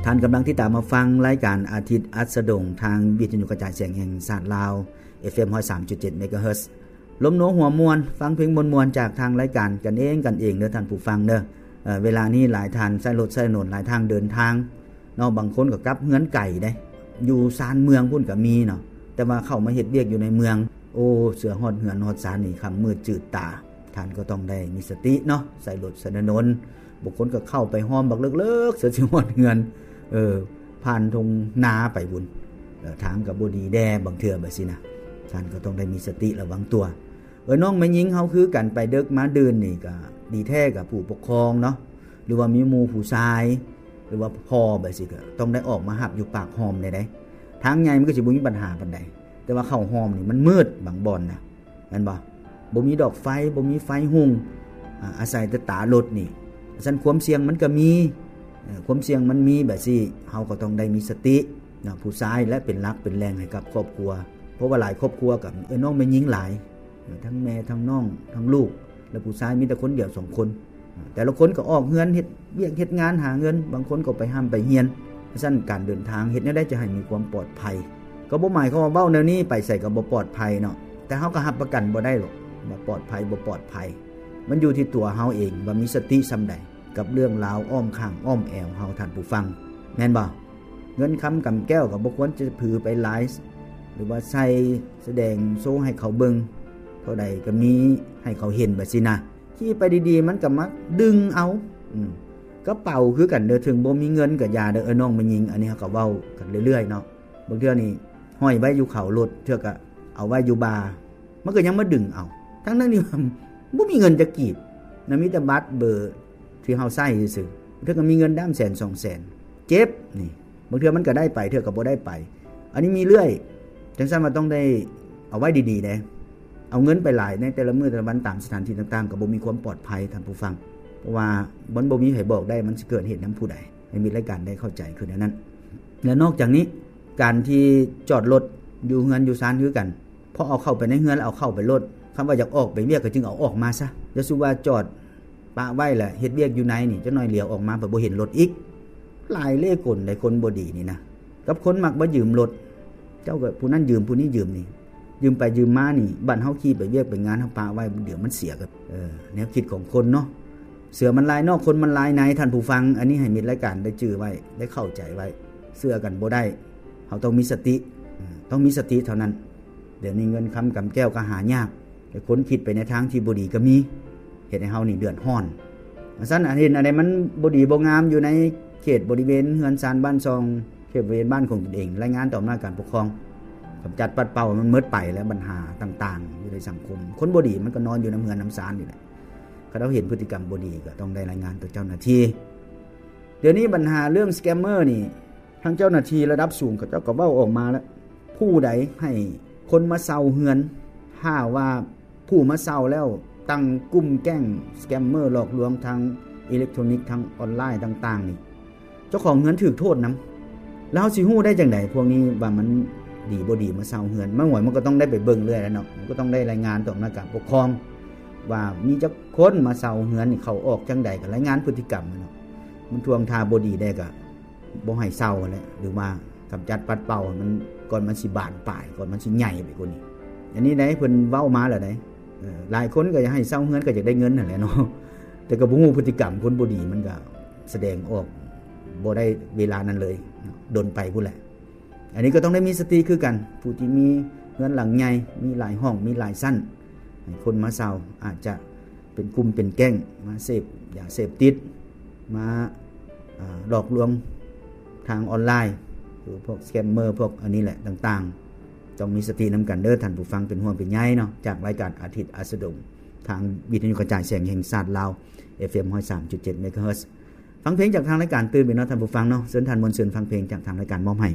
ທ່ານກຳລັງຕິດຕາມຮັບຟັງລາຍການອາທິດອັດສະດົງ ທາງວິທະຍຸກະຈາຍສຽງແຫ່ງຊາດລາວ ເອັຟເອັມ ຮ້ອຍສາມຈຸດເຈັດ ເມກາເຮີດ ລົມໂນຫົວມ່ວນ, ຟັງເພງມ່ວນໆ ຈາກທາງລາຍການກັນເອງກັນເອງເດີທ່ານຜູ້ຟັງເດີ. ເອີ ເວລານີ້ຫຼາຍທ່ານໃຊ້ລົດໃຊ້ຖະໜົນ ຫຼາຍທາງເດີນທາງເນາະ, ບາງຄົນກໍກັບເຮືອນໄກເດ້, ຢູ່ຊານເມືອງພຸ້ນກໍມີເນາະ, ແຕ່ວ່າເຂົ້າມາເຮັດວຽກຢູ່ໃນເມືອງ ໂອ້ ເຊື່ອຮອດເຮືອນຮອດຊານນີ້ຄ່ຳມືດຈືດຕາ. ທ່ານກໍຕ້ອງໄດ້ມີສະຕິເນາະ, ໃຊ້ລົດໃຊ້ຖະໜົນ, ບາງຄົນກໍເຂົ້າໄປຮ່ອມບັກເລິກໆ ເສຍຊິຮອດເຮືອນ, ເອີ ຜ່ານທົ່ງນາໄປພຸ້ນ, ເອີ ທາງກໍບໍ່ດີແດ່ບາງເທື່ອແບບຊີ້ນະ. ທ່ານກໍຕ້ອງໄດ້ມີສະຕິລະວັງຕົວ. ເອີ ນ້ອງແມ່ຍິງເຮົາຄືກັນ, ໄປເດິກມາດື່ນນີ້ກໍດີແທ້ກໍຜູ້ປົກຄອງເນາະ, ຫຼືວ່າມີໝູ່ຜູ້ຊາຍ ຫຼືວ່າພໍ່ແບບຊີ້ ກໍຕ້ອງໄດ້ອອກມາຮັບຢູ່ປາກຮ່ອມໄດ້ເດ້. ທາງໃຫຍ່ມັນກໍຊິບໍ່ມີບັນຫາປານໃດ, ແຕ່ວ່າເຂົ້າຮ່ອມນີ້ມັນມືດບາງບ່ອນນະ. ແມ່ນບໍ່? ບໍ່ມີດອກໄຟ, ບໍ່ມີໄຟຮຸ່ງ, ອາ ອາໄສແຕ່ຕາລົດນີ້. ຊັ້ນຄວາມສ່ຽງມັນກໍມີ, ເອີ ຄວາມສ່ຽງມັນມີແບບຊີ້, ເຮົາກໍຕ້ອງໄດ້ມີສະຕິເນາະ, ຜູ້ຊາຍແຫຼະເປັນຫຼັກເປັນແຫຼ່ງໃຫ້ກັບຄອບຄົວ. ເພາະວ່າຫຼາຍຄອບຄົວກໍເອື້ອຍນ້ອງແມ່ຍິງຫຼາຍ, ທັງແມ່ ທັງນ້ອງ ທັງລູກ, ແລະ ຜູ້ຊາຍມີແຕ່ຄົນດຽວສອງຄົນ. ແຕ່ລະຄົນກໍອອກເຮືອນເຮັດວຽກເຮັດງານຫາເງິນ, ບາງຄົນກໍໄປຮ່ຳໄປຮຽນ. ຊັ້ນການເດີນທາງເຮັດແນວໃດຈະໃຫ້ມີຄວາມປອດໄພ? ກໍບໍ່ໝາຍຄວາມວ່າເວົ້າແນວນີ້ໄປໃສກໍບໍ່ປອດໄພເນາະ, ແຕ່ເຮົາກໍຮັບປະກັນບໍ່ໄດ້ດອກວ່າປອດໄພບໍ່ປອດໄພ. ມັນຢູ່ທີ່ຕົວເຮົາເອງວ່າມີສະຕິສ່ຳໃດກັບເລື່ອງລາວອ້ອມຂ້າງອ້ອມແອວເຮົາ, ທ່ານຜູ້ຟັງ, ແມ່ນບໍ່? ເງິນຄຳກຳແກ້ວກໍບໍ່ຄວນຈະຖືໄປຫຼາຍ ຫຼືວ່າໃສ່ສະແດງໂຊໃຫ້ເຂົາເບິ່ງ, ເທົ່າໃດກໍມີໃຫ້ເຂົາເຫັນແບບຊີ້ນະ. ຂີ່ໄປດີໆ ມັນກໍມັກດຶງເອົາ. ອືມ ກະເປົາຄືກັນເດີ, ເຖິງບໍ່ມີເງິນກໍຢ່າເດີ ເອີ ນ້ອງແມ່ຍິງ. ອັນນີ້ເຮົາກໍເວົ້າກັນເລື້ອຍໆເນາະ, ບາງເທື່ອນີ້ຫ້ອຍໄວ້ຢູ່ເຂົາລົດ, ເທື່ອກໍເອົາໄວ້ຢູ່ບ່າ, ມັນກໍຍັງມາດຶງເອົາ, ທັງໆທີ່ວ່າບໍ່ມີເງິນຈັກກີບນະ, ມີແຕ່ບັດເບີທີ່ເຮົາໃຊ້ຊື່ໆ. ເທື່ອກໍມີເງິນດ້າມແສນສອງແສນ, ເຈັບນີ້. ບາງເທື່ອມັນກໍໄດ້ໄປ, ເທື່ອກໍບໍ່ໄດ້ໄປ. ອັນນີ້ມີເລື້ອຍ, ຈັ່ງຊັ້ນວ່າຕ້ອງໄດ້ເອົາໄວ້ດີໆເດ້. ເອົາເງິນໄປຫຼາຍໃນແຕ່ລະມື້ແຕ່ລະວັນຕາມສະຖານທີ່ຕ່າງໆ ກໍບໍ່ມີຄວາມປອດໄພ, ທ່ານຜູ້ຟັງ, ເພາະວ່າມັນບໍ່ມີໃຜບອກໄດ້ ມັນຊິເກີດເຫດນຳຜູ້ໃດ, ໃຫ້ມິດລາຍການໄດ້ເຂົ້າໃຈຄືແນວນັ້ນ. ແລະ ນອກຈາກນີ້, ການທີ່ຈອດລົດຢູ່ເຮືອນຢູ່ຊານຄືກັນ, ພໍເອົາເຂົ້າໄປໃນເຮືອນແລ້ວເອົາເຂົ້າໄປໂລດ, ຄຳວ່າຢາກອອກໄປວຽກກໍຈຶ່ງເອົາອອກມາຊະ. ຢ່າສູ່ວ່າຈອດປະໄວ້ແລ້ວເຮັດວຽກຢູ່ໃນນີ້, ຈັກໜ້ອຍຫຼຽວອອກມາ ໄປບໍ່ເຫັນລົດອີກ. ຫຼາຍເລ່ກົນໃດ໋ ຄົນບໍ່ດີນີ້ນະ, ກັບຄົນມັກມາຢືມລົດ, ເຈົ້າກໍຜູ້ນັ້ນຢືມ ຜູ້ນີ້ຢືມນີ້, ຢືມໄປຢືມມານີ້, ບັດເຮົາຂີ່ໄປວຽກໄປງານ ເຮົາປະໄວ້, ດຽວມັນເສຍ. ກໍ ເອີ ແນວຄິດຂອງຄົນເນາະ, ເສືອມັນລາຍນອກ ຄົນມັນລາຍໃນ, ທ່ານຜູ້ຟັງ. ອັນນີ້ໃຫ້ມິດລາຍການໄດ້ຈື່ໄວ້, ໄດ້ເຂົ້າໃຈໄວ້. ເຊື່ອກັນບໍ່ໄດ້, ເຮົາຕ້ອງມີສະຕິ, ເອີ ຕ້ອງມີສະຕິເທົ່ານັ້ນ. ດຽວນີ້ເງິນຄຳກຳແກ້ວກໍຫາຍາກ, ແຕ່ຄົນຄິດໄປໃນທາງທີ່ບໍ່ດີກໍມີ, ເຮັດໃຫ້ເຮົານີ້ເດືອດຮ້ອນ. ຊັ້ນ ອັນເຫັນອັນໃດມັນບໍ່ດີບໍ່ງາມຢູ່ໃນເຂດບໍລິເວນເຮືອນຊານບ້ານຊ່ອງ, ເຂດບໍລິເວນບ້ານຂອງຕົນເອງ, ລາຍງານຕໍ່ອຳນາດການປົກຄອງ, ກຳຈັດປັດເປົ່າໃຫ້ມັນໝົດໄປ ແລະ ບັນຫາຕ່າງໆຢູ່ໃນສັງຄົມ. ຄົນບໍ່ດີມັນກໍນອນຢູ່ນຳເຮືອນນຳຊານນີ້ແຫຼະ, ຄັນເຮົາເຫັນພຶດຕິກຳບໍ່ດີ ກໍຕ້ອງໄດ້ລາຍງານຕໍ່ເຈົ້າໜ້າທີ່. ດຽວນີ້ບັນຫາເລື່ອງສະແກມເມີນີ້, ທາງເຈົ້າໜ້າທີ່ລະດັບສູງເຂົາເຈົ້າກໍເວົ້າອອກມາແລ້ວ, ຜູ້ໃດໃຫ້ຄົນມາເຊົ່າເຮືອນ, ຖ້າວ່າຜູ້ມາເຊົ່າແລ້ວຕັ້ງກຸ່ມແກ້ງສະແກມເມີຫຼອກລວງທາງອີເລັກໂທຣນິກ, ທາງອອນລາຍຕ່າງໆນີ້, ເຈົ້າຂອງເຮືອນຖືກໂທດນຳ. ແລ້ວເຮົາຊິຮູ້ໄດ້ຈັ່ງໃດພວກນີ້ວ່າມັນດີບໍ່ດີມາເຊົ່າເຮືອນ? ມັນຫວຍ ມັນກໍຕ້ອງໄດ້ໄປເບິ່ງເລື້ອຍແລ້ວເນາະ, ມັນກໍຕ້ອງໄດ້ລາຍງານຕໍ່ອຳນາດການປົກຄອງ ວ່າມີຈັກຄົນມາເຊົ່າເຮືອນນີ້, ເຂົ້າອອກຈັ່ງໃດ, ກໍລາຍງານພຶດຕິກຳເນາະ. ມັນທ່ວງທ່າບໍ່ດີແດ່ກໍ ບໍ່ໃຫ້ເຊົ່າຫັ້ນແຫຼະ ຫຼືວ່າກຳຈັດປັດເປົ່າໃຫ້ມັນ ກ່ອນມັນຊິບານປາຍ, ກ່ອນມັນຊິໃຫຍ່ໄປກວ່ານີ້. ອັນນີ້ໄດ໋ ເພິ່ນເວົ້າມາແລ້ວໄດ໋. ເອີ ຫຼາຍຄົນກໍຢາກໃຫ້ເຊົ່າເຮືອນ ກໍຢາກໄດ້ເງິນຫັ້ນແຫຼະເນາະ, ແຕ່ກໍບໍ່ຮູ້ພຶດຕິກຳຄົນບໍ່ດີ, ມັນກໍສະແດງອອກບໍ່ໄດ້ເວລານັ້ນເລີຍ, ດົນໄປພຸ້ນແຫຼະ. ອັນນີ້ກໍຕ້ອງໄດ້ມີສະຕິຄືກັນ, ຜູ້ທີ່ມີເຮືອນຫຼັງໃຫຍ່, ມີຫຼາຍຫ້ອງ, ມີຫຼາຍຊັ້ນ, ໃຫ້ຄົນມາເຊົ່າ ອາດຈະ ເປັນກຸ່ມເປັນແກ້ງມາເສບຢາເສບຕິດ, ມາ ອາ ຫຼອກລວງທາງອອນລາຍ, ຄືພວກສະແກມເມີ, ພວກອັນນີ້ແຫຼະຕ່າງໆ. ຕ້ອງມີສະຕິນຳກັນເດີທ່ານຜູ້ຟັງ, ເປັນຫ່ວງເປັນໃຍເນາະ. ຈາກລາຍການອາທິດອັດສະດົງ ທາງວິທະຍຸກະຈາຍສຽງແຫ່ງຊາດລາວ ເອັຟເອັມ ຮ້ອຍສາມຈຸດເจ็ດ ເມກາເຮີດ. ຟັງເພງຈາກທາງລາຍການຕື່ມອີກເນາະທ່ານຜູ້ຟັງເນາະ. ເຊີນທ່ານມ່ວນຊື່ນຟັງເພງຈາກທາງລາຍການມອບໃຫ້.